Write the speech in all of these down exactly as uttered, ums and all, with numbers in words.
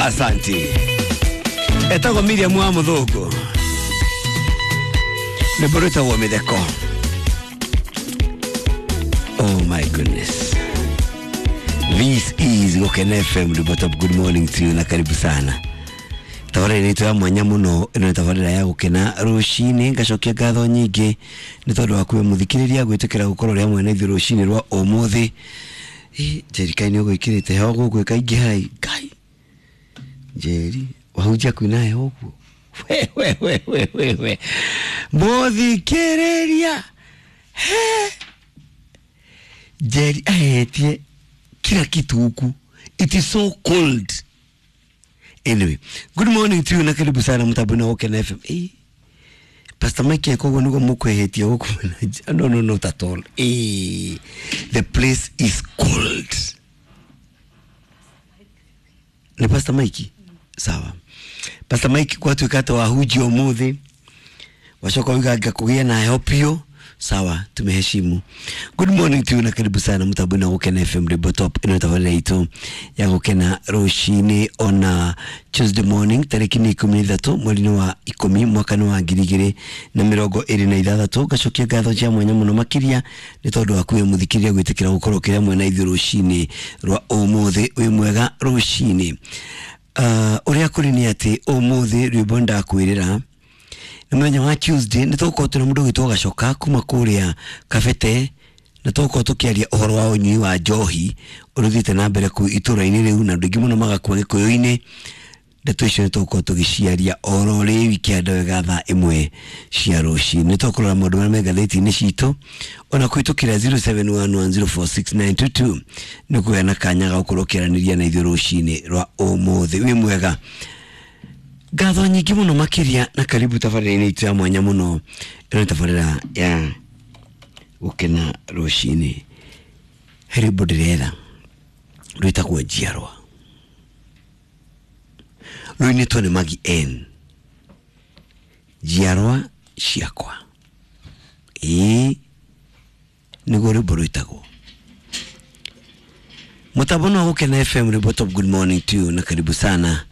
Asante. Etagwo Miriam wa Muthungu. Rwĩmbo rwĩtagwo Mĩtheko. Oh my goodness. This is Gukena F M, the bottom. Good morning to you na karibu sana. Tabarĩra itũ ya mwanya mũno, ĩno nĩ tabarĩra ya gũkena rũcinĩ. Ngacokia ngatho nyingĩ nĩ tondũ wa kuwe mũthikĩrĩria gwĩtĩkĩra gũkorwo ũrĩ hamwe na ithuĩ rũcinĩ rwa ũmũthĩ. Ĩ, Njeri kaĩ nĩ ũgwĩkĩrĩte heho gũkũ ĩkaingĩha ĩ, Ngai. Njeri, wahunjia kwĩna heho ũguo? We, we, we, we, we, we. Mũthikĩrĩria. He. Njeri ahetie kila kitu huku. It is so cold. Anyway, good morning to you na karibu sana mtabuni wa Gukena F M. Eh, Pastor Mike koguo niguo mukwehetie guku. No, no, not at all. Eh, the place is cold. Ni Pastor Mike? Sawa. Pastor Mike gwatuĩka atĩ wahunjia ũmũthĩ, wacoka uga ngakũgĩa na heho biũ. Sawa, tumeheshimu. Good morning to you na karibu sana mtabuni wa Gukena F M, the top ino tabarĩra itũ ya gukena rũcinĩ ona Tuesday morning tarĩki nĩ ikũmi na ithatũ mweri-inĩ wa ikũmi mwaka-inĩ wa ngiri igĩrĩ na mĩrongo ĩrĩ na ithathatũ. Ngacokia ngatho cia mwanya mũno makĩria nĩ tondũ wa kuwe mũthikĩrĩria gwĩtĩkĩra gũkorwo ũkĩrĩ hamwe na ithuĩ rũcinĩ rwa ũmũthĩ. Wĩ mwega rũcinĩ. Uh, ũrĩa kũrĩ nĩ atĩ ũmũthĩ rwĩmbo ndakwĩrĩra nĩ mũthenya wa Tuesday, nĩ tũgũkorwo twĩna mũndũ ũgwĩtwo Gacoka kuma kũrĩa Kabete, na tũgũkorwo tũkĩaria ũhoro wa ũnyui wa njohi ũrĩa ũthiĩte na mbere kũu itũũra-inĩ rĩu, na andũ aingĩ mũno magakua Gĩkũyũ-inĩ. Ndeto icio nĩ tũgũkorwo tũgĩciaria oro rĩu ikĩanda wega thaa ĩmwe cia rũcinĩ. Nĩ tũkũrora maũndũ marĩa me ngathĩti-inĩ citũ ona kũhĩtũkĩra zero seven one one zero four six nine two two nĩ kũgĩa na kanya ga gũkorwo ũkĩaranĩria na ithuĩ rũcinĩ rwa ũmũthĩ. Wĩ mwega. Ngatho nyingĩ mũno makĩria na karibu tabarĩra-inĩ itũ ya mwanya mũno. Ĩno nĩ tabarĩra ya gũkena rũcinĩ. He rwĩmbo ndĩretha rwĩtagwo Njiarwa, rũinĩtwo nĩ Maggie N. Njiarwa ciakwa. Ĩĩ, nĩguo rwĩmbo rwĩtagwo. Mũtambo wa Gukena F M, rwĩmbo top. Good morning to you na karibu sana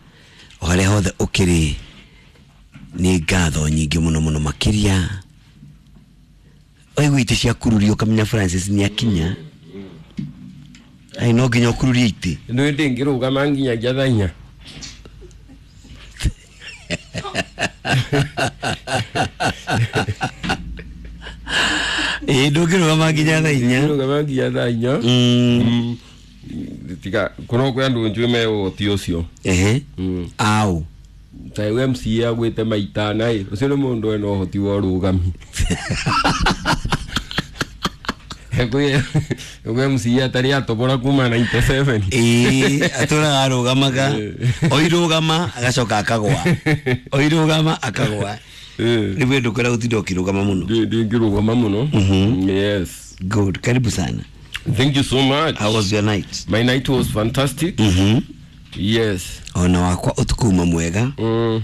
o harĩa hothe ũkĩrĩ. Nĩ ngatho nyingĩ mũno mũno makĩria. Waigua itĩ ciakururio ũkamenya Francis nĩ akinya. Ai, no nginya ũkururie itĩ. Nĩ ndĩngĩrũgama nginyagia thaa inya. Ĩĩ, ndũngĩrũgama nginya thaa inya. Ndũngĩrũgama nginya thaa inya. Mm. Tiga kuno kwĩ andũ njũĩ me ũhoti ũcio. Ehe. Mm. Au. Ta M C A agwĩte maitana ĩ, ũcio nĩ mũndũ wĩna ũhoti wa ũrũgami. Kwĩ kwĩ M C A atarĩ atobora kuma ninety seven. Ĩĩ, atũraga arũgamaga. Oirũgama agacoka akagwa. Oirũgama akagwa. Ĩĩ. Nĩ wendo kwĩra gũtinda ũkĩrũgama mũno. Ndingĩrũgama mũno. Mhm. Yes. Good. Karibu sana. Thank you so much. How was your night? My night was fantastic. Mhm. Yes. Ona wakwa ũtukũ uma mwega. Mm.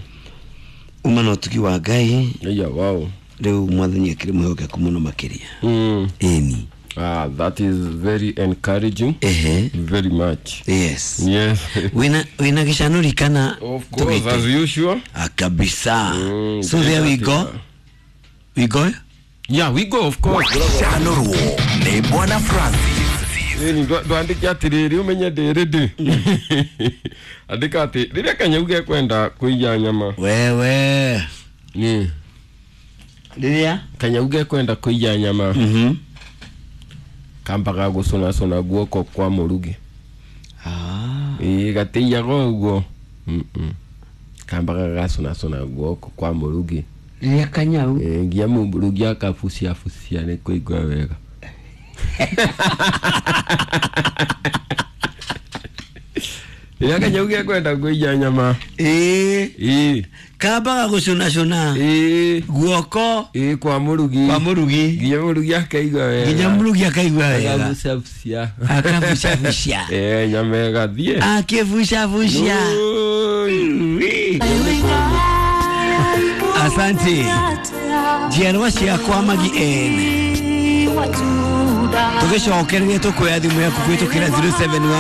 Uma na ũtugi wa Ngai. Yeah, wow. Rĩu mwathani akĩrĩ mwĩhokeku mũno makĩria. Mm. Ĩni. Ah, that is very encouraging. Ehe. Very much. Yes. Yes. Wina wina gĩcanũri kana Of course, as usual. Ah, kabisa. Mm, So there we go. We go? Yeah, we go, of course. Gũcanũrwo nĩ Bwana Francis. Ĩni ndwandĩke atĩrĩrĩ ũmenye ndĩrĩ ndĩ. Andĩka atĩ rĩrĩa kanyau gekwenda kũiya nyama. Wewe. Ni Rĩrĩa? Kanyau gekwenda kũiya nyama. Mhm. Kambaga gũcũnacũna guoko kwa mũrugi. Ah. Ĩĩ, gatĩiyaga ũguo. Mm-mm. Kambaga gacũnacũna guoko kwa mũrugi. Rĩrĩa kanyau. Ĩĩ, nginya mũrugi akabucia bucia nĩ kũigua wega. Rĩrĩa kanyau gekwenda kũiya nyama. Ĩĩ. Ĩĩ. Kambaga gũcũnacũna. Ĩĩ. Guoko. Ĩĩ, kwa mũrugi. Kwa mũrugi. Nginya mũrugi akaigua wega. Nginya mũrugi akaigua wega. Akabucia bucia. Akabucia bucia. Ĩĩ, nyama ĩgathiĩ. Akĩbucia bucia. Oi. Asante. Njiarwa ciakwa Maggie N. Tũgĩcokereria tũkuoya thimũ yaku kũhĩtũkĩra zero seven one